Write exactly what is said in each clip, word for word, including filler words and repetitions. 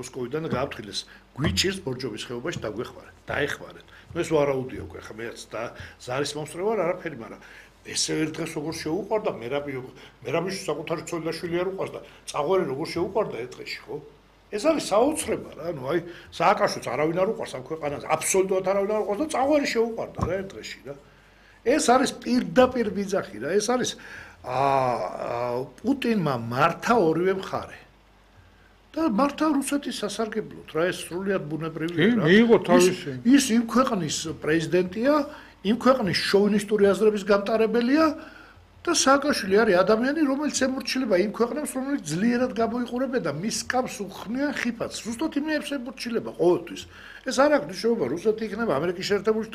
მოსკოვიდან და გააფრთხილეს გვიჭირს ბორჯომის ხეობაში დაგვეხმარეთ დაეხმარეთ ნუ ეს ვარაუდია უკვე ხა მეც და ზარის მომსწრე ვარ არაფერი მაგრამ ესე ერთ დღეს როგორ შეუყვარდა მერაბი მერაბის საკუთარი ცოლი და შვილი არ უყვარს და წაღვერი როგორ შეუყვარდა ერთ დღეში ხო ეს არის საოცრება რა ნუ აი სააკაშოც არავინ არ უყვარს ამ ქვეყანაზე აბსოლუტურად არავინ არ უყვარს და წაღვერი შეუყვარდა რა ერთ დღეში რა ეს არის პირდაპირ ბიძახი რა ეს არის აა პუტინმა მართა ორივე მხარე და მართა რუსეთის სასარგებლოდ რა ეს სრულიად ბუნებრივია რა მიიღო თავისი ის იმ ქვეყნის პრეზიდენტია იმ ქვეყნის შოვინისტური აზრების გამტარებელია და სააკაშვილი არის ადამიანი რომელიც ემორჩილება იმ ქვეყნებს რომელიც ძლიერად გამოიყურებოდა მის კამს უხმიან ხიფათს ზუსტად იმებს ემორჩილება ყოველთვის ეს არ აქვს მნიშვნელობა რუსეთი იქნება ამერიკის შეერთებული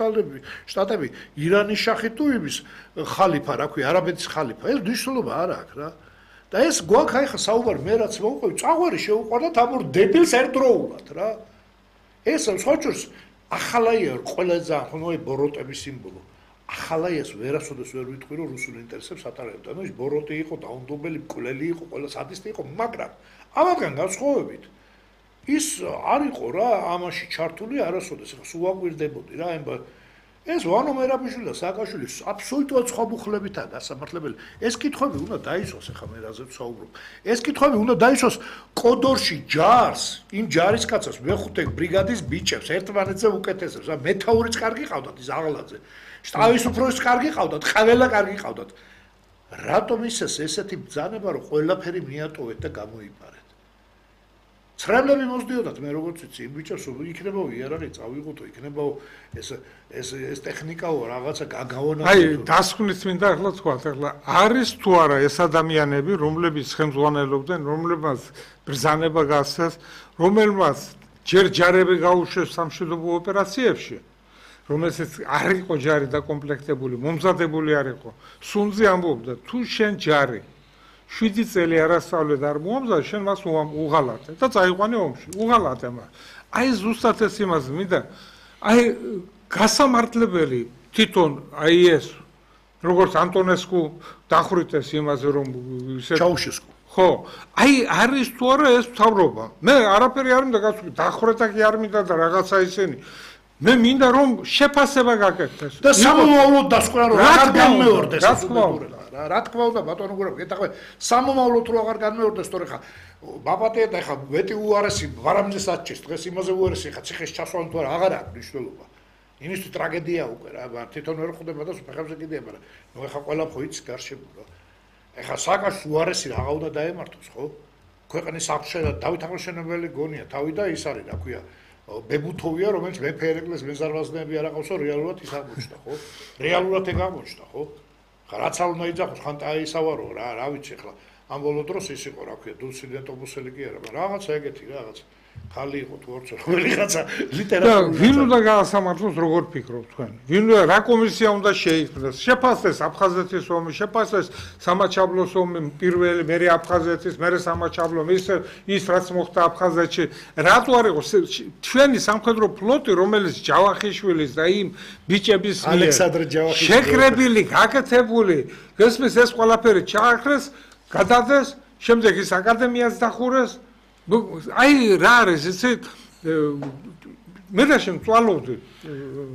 შტატები ირანის შახი თუ იმის ხალიფა რა ქვია არაბეთის ხალიფა ეს მნიშვნელობა არ აქვს რა და ეს გვაქვს აი ხა საუბარი მე რაც მოვყვი წაღვარი შეუყვარდა თამურ დებილს ერთდროულად რა ეს სხვაჭურს ახალაია ყველა ძალიან ხო ნუ ბოროტების სიმბოლო ახალაიას ვერასოდეს ვერ ვიტყვი რომ რუსულ ინტერესებს ატარებდა ნუ ის ბოროტი იყო დაუნდობელი მკვლელი იყო ყველა სადისტი იყო მაგრამ ამათგან განსხვავებით ის არ იყო რა ამაში ჩართული არასოდეს ხა სულ აგვირდებოდი რა ემბა ეს ვანო მერაბიშვილი და სააკაშვილი აბსოლუტურად სხვა მუხლებითაა გასამართლებელი ეს კითხვები უნდა დაისვას ახლა მე რაზეც საუბრობ ეს კითხვები უნდა დაისვას კოდორში ჯარს იმ ჯარისკაცებს მეხუთე ბრიგადის ბიჭებს ერთმანეთზე უკეთესებს რა მეთაურიც კარგი ყავდათ ის აღალაძე შტაბის უფროსიც კარგი ყავდათ ყველა კარგი ყავდათ რატომ ისეს ესეთი ბრძანება რომ ყველაფერი მიატოვეთ და გამოიპარეთ ცრემლები მოსდიოდათ მე როგორც ვიცი იმ ბიჭებს იქნებაო იარაღი წავიღოთო იქნებაო ეს ეს ეს ტექნიკაო რაღაცა გაგავანახო აი დასკვნით მინდა ახლა თქვათ ახლა არის თუ არა ეს ადამიანები რომლებიც ხელმძღვანელობდნენ რომლებმაც ბრძანება გასცეს რომელმაც ჯერ ჯარები გაუშვეს სამშვიდობო ოპერაციებში რომელსაც არ იყო ჯარი დაკომპლექტებული მომზადებული არ იყო სუნძი ამბობდა თუ შენ ჯარი შვიდი წელი არასწავლე და არ მოამზადე შენ მას უღალატე და წაიყვანე ომში უღალატე მას აი ზუსტად ეს იმას მინდა აი გასამართლებელი თვითონ აი ეს როგორც ანტონესკუ დახვრიტეს იმაზე რომ ისე ჩაუშესკუ ხო აი არის თუ არა ეს მთავრობა მე არაფერი არ მინდა გასული დახვრეტა კი არ მინდა და რაღაცა ისენი მე მინდა რომ შეფასება გაკეთდეს და სამომავლოდ დასკვნა რომ აღარ განმეორდეს რა თქმა უნდა რა თქმა უნდა ბატონო გურაბ ეთახვე სამომავლოდ რო აღარ განმეორდეს თორე ხა ბაბატია და ხა მეტი უარესი ვარამძეს აჩეს დღეს იმაზე უარესი ხა ციხეს ჩასვლა თუ არა აღარ აქვს მნიშვნელობა იმისთვის ტრაგედია უკვე რა თვითონ ვერ ხვდება და ფეხებზე კიდია მაგრამ ნუ ხა ყველა ხო იცი გარშემო ეხა საკას უარესი რაღა უნდა დაემართოს ხო ქვეყნის აღშენა დავით აღმაშენებელი გონია თავი და ის არის რა ქვია ბებუთოვია რომელიც მეფე ერეკლეს მეზარვაზნეები არ აყავსო რეალურად ის აღმოჩნდა ხო რეალურად ეგ აღმოჩნდა ხო ხა რაც არ უნდა იძახოს ხან დაისავარო რა რა ვიცი ახლა ამ ბოლო დროს ის იყო რა ქვია დულსიდენტობუსელი კი არა მაგრამ რაღაცა ეგეთი რაღაც ხალი იყო თუ არც რომელიღაცა ლიტერატურული და ვინ უნდა გაასამართლოს როგორ ფიქრობთ თქვენ ვინ რა კომისია უნდა შეიქმნას შეფასდეს აფხაზეთის ომი შეფასდეს სამაჩაბლოს ომი პირველი მერე აფხაზეთის მერე სამაჩაბლო ის ის რაც მოხდა აფხაზეთში რატო არ იყო ჩვენი სამხედრო ფლოტი რომელიც ჯავახიშვილის და იმ ბიჭების ალექსანდრე ჯავახიშვილის შეკრებილი გაკეთებული გესმის ეს ყველაფერი ჩაახრეს გადადეს შემდეგ ის აკადემიას დახურეს აი რა არის ესე მე და შემწვალობდი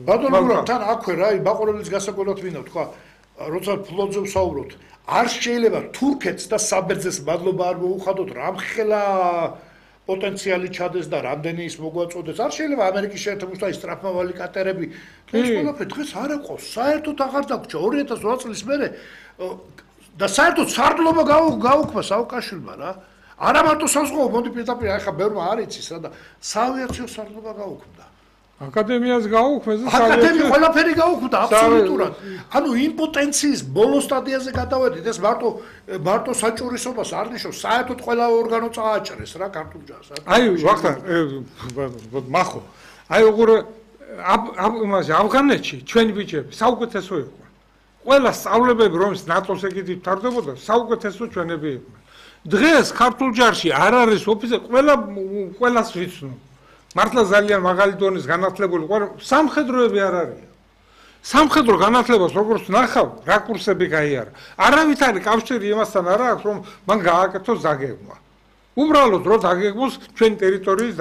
ბატონო გურამ თან აქვე რა ბაყურებლის გასაგონად მინდა თქვა როცა ფლოტზე ვსაუბრობთ არ შეიძლება თურქეთს და საბერძნეთს მადლობა არ მოუხადოთ რამხელა პოტენციალი ჩადეს და რამდენი ის მოგვაწოდეს არ შეიძლება ამერიკის შეერთებული შტატების სტრაფმავალი კატერები ეს ყველაფერი დღეს არ აყავს საერთოდ აღარ დაგვრჩა ორი ათას ოთხ წლის მერე და საერთოდ სარდლობა გაუქმა სააკაშვილმა რა არა მარტო საზღვაო მოდი პირდაპირ ახლა ბევრმა არ იცის რა და საავიაციო სარდლობა გაუქმდა აკადემიას გაუქმეს და აკადემია ყველაფერი გაუქმდა აბსოლუტურად ანუ იმპოტენციის ბოლო სტადიაზე გადავედით ეს მარტო მარტო საჭურისობას არ ნიშნავს საერთოდ ყველა ორგანო წააჭრეს რა ქართულ ჯარს აი ვახტანგ მახო აი უყურე იმაზე ავღანეთში ჩვენი ბიჭები საუკეთესო იყო ყველა სწავლებები რომელიც ნატოს ეგეთი თარდებოდა საუკეთესო ჩვენები იყვნენ დღეს ქართულ ჯარში არ არის ოფიცერი ყველა ყველას ვიცნობ მართლა ძალიან მაღალი დონის განათლებული სამხედროები არ არიან სამხედრო განათლებას როგორც ნახავ რა კურსები გაიარა არავით არის კავშირი იმასთან არა აქვს რომ მან გააკეთოს დაგეგმა უბრალოდ რომ დაგეგმოს ჩვენი ტერიტორიის